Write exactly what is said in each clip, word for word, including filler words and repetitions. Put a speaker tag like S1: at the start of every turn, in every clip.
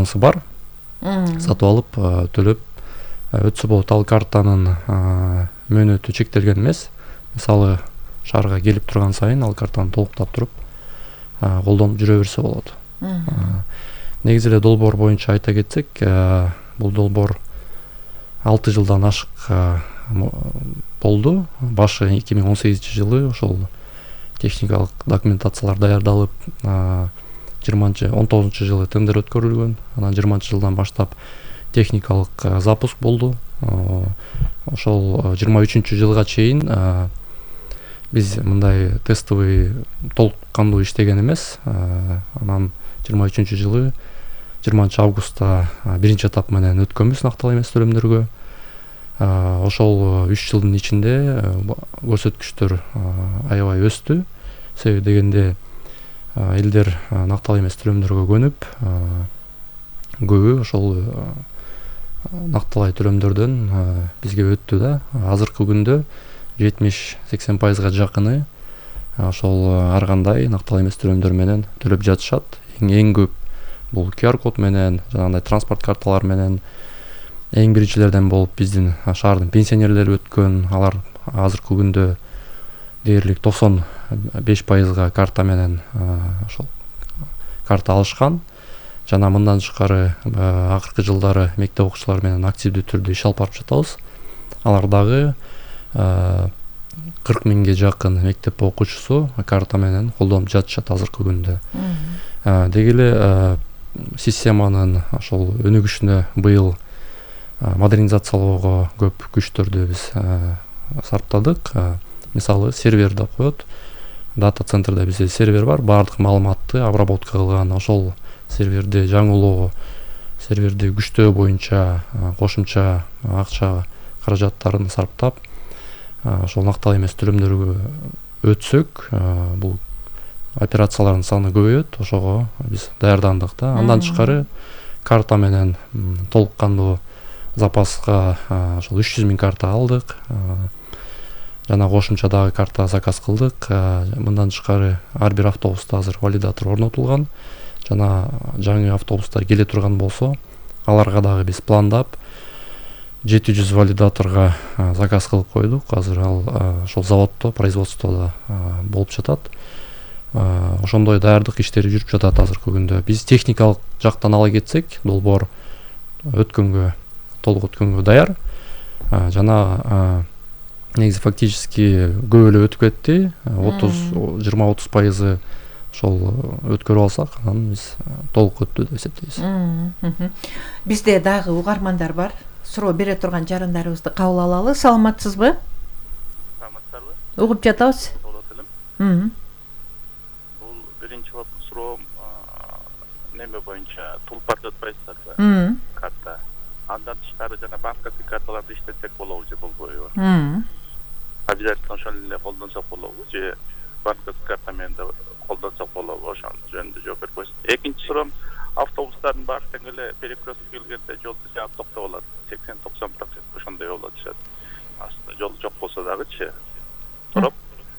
S1: картаңыз бар, сатып алып төлөп өтсө болот. Ал картанын мөөнөтү чектелген эмес. Мисалы шаарга келип турган сайын ал картаны толуктап туруп колдонуп жүрө берсе болот. Негизи эле долбоор боюнча айта кетсек, бул долбоор алты жылдан ашык болду. Башы эки миң он сегизинчи жылы ошол техникалык документациялар даярдалып, жыйырманчы он тогузунчу жылы тендер өткөрүлгөн. Анан жыйырманчы жылдан баштап техникалык запуск болду. Ошол жыйырма үчүнчү жылга чейин биз мындай тестовый толук кандуу иштеген эмес. Анан жыйырма үчүнчү жылы жыйырманчы августта биринчи этап менен өткөнбүз нактылуу эмес төлөмдөргө. Ошол үч жылдын ичинде көрсөткүчтөр аябай өстү. Себеби дегенде элдер нактылуу эмес төлөмдөргө көнүп, көбү ошол нактылай төлөмдөрдөн бизге өттү да. Азыркы күндө жетимиш сексен пайызга жакыны ошол ар кандай нактылуу эмес төлөмдөр менен төлөп жатышат. Эң көп бул ку ар код менен, жанагындай транспорт карталар менен. Эң биринчилерден болуп биздин шаардын пенсионерлери өткөн. Алар азыркы күндө дээрлик токсон беш пайызга карта менен ошол карта алышкан. Жана мындан тышкары акыркы жылдары мектеп окуучулары менен активдүү түрдө иш алып барып жатабыз. Алар дагы кырк миңге жакын мектеп окуучусу карта менен колдонуп жатышат азыркы күндө. Деги эле системанын ошол өнүгүшүнө быйыл модернизациялоого көп күчтөрдү биз сарптадык. Мисалы сервер деп коет. Дата центрде бизде сервер бар, баардык маалыматты обработка кылган. Ошол серверди жаңылоо, серверди күчтөө боюнча кошумча акча каражаттарын сарптап, ошол нактылуу эмес төлөмдөргө өтсөк, бул операциялардын саны көбөйөт. Ошого биз даярдандык да. Андан тышкары карта менен толук кандуу запаска ошол үч жүз миң карта алдык. Жана кошумча дагы карта заказ кылдык. Мындан тышкары ар бир автобуста азыр валидатор орнотулган. Жана жаңы автобустар келе турган болсо, аларга дагы биз пландап жети жүз валидаторго заказ кылып койдук. Азыр ал ошол заводдо, производстводо болуп жатат. Ошондой даярдык иштери жүрүп жатат азыркы күндө. Биз техникалык жактан ала кетсек, долбоор өткөнгө, толук өткөнгө даяр. Жана негизи фактически көп эле өтүп кетти. отуз жыйырма отуз пайызы ошол өткөрүп алсак, анан биз толук өттү деп эсептейбиз.
S2: Бизде дагы угармандар бар. Суроо бере турган жарандарыбызды кабыл алалы. Саламатсызбы?
S3: Саламатсызбы?
S2: Угуп жатабыз.
S3: Болот элем. Бул биринчи суроо неме боюнча тулпарды өтпөйсүзбү? Карта. Андан тышкары жана банковский карталарды иштетсек болобу же болбойбу? Обязательно ошол эле колдонсок болобу же банковский карта менен да колдонсок болобу? Ошол жөнүндө жооп берип койсуң. Экинчи суроом, автобустардын баары тең эле перекрестке келгенде жолду жаап токтоп алат. сексен токсон процент ошондой болуп атышат. Аслында жол жок болсо дагычы туруп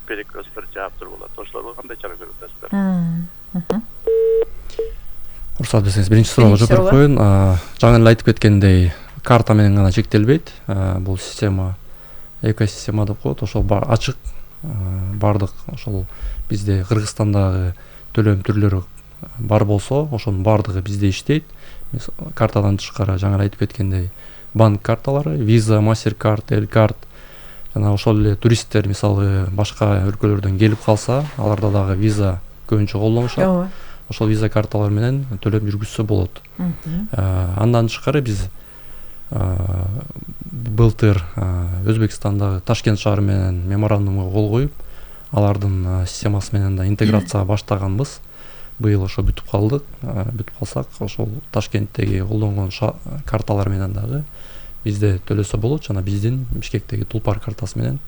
S3: перекресттер жаап туруп алат. Ошолорго кандай чара көрүп атасыздар?
S1: Уруксат берсеңиз биринчи суроого жооп берип коеюн. Жаңы эле айтып кеткендей, карта менен гана чектелбейт. Бул система экосистема деп коет. Ошол ачык, баардык ошол бизде Кыргызстандагы төлөм түрлөрү бар болсо, ошонун баардыгы бизде иштейт. Картадан тышкары жаңы айтып кеткендей, банк карталары, Visa, MasterCard, L-Card, жана ошол эле туристтер мисалы башка өлкөлөрдөн келип калса, аларда дагы Visa көбүнчө колдонушат. Ошол Visa карталар менен төлөм жүргүзсө болот. Андан тышкары биз былтыр Өзбекстандагы Ташкент шаары менен меморандумга кол коюп, алардын системасы менен да интеграция баштаганбыз. Быйыл ошо бүтүп калдык. Бүтүп калсак, ошол Ташкенттеги колдонгон карталар менен дагы бизде төлөсө болот. Жана биздин Бишкектеги Тулпар картасы менен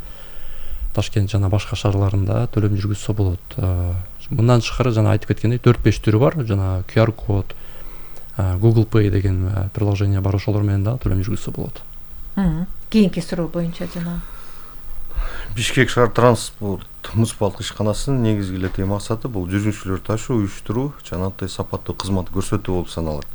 S1: Ташкент жана башка шаарларында төлөм жүргүзсө болот. Мындан тышкары жана айтып кеткендей төрт беш түрү бар. Жана ку ар код, Google Pay деген приложение бар, ошолор менен дагы төлөм жүргүзсө болот.
S2: Кийинки суроо боюнча жана
S4: Бишкек шаар транспорт муниципалдык ишканасынын негизги эле максаты бул жүргүнчүлөр ташуу, уюштуруу жана сапаттуу кызмат көрсөтүү болуп саналат.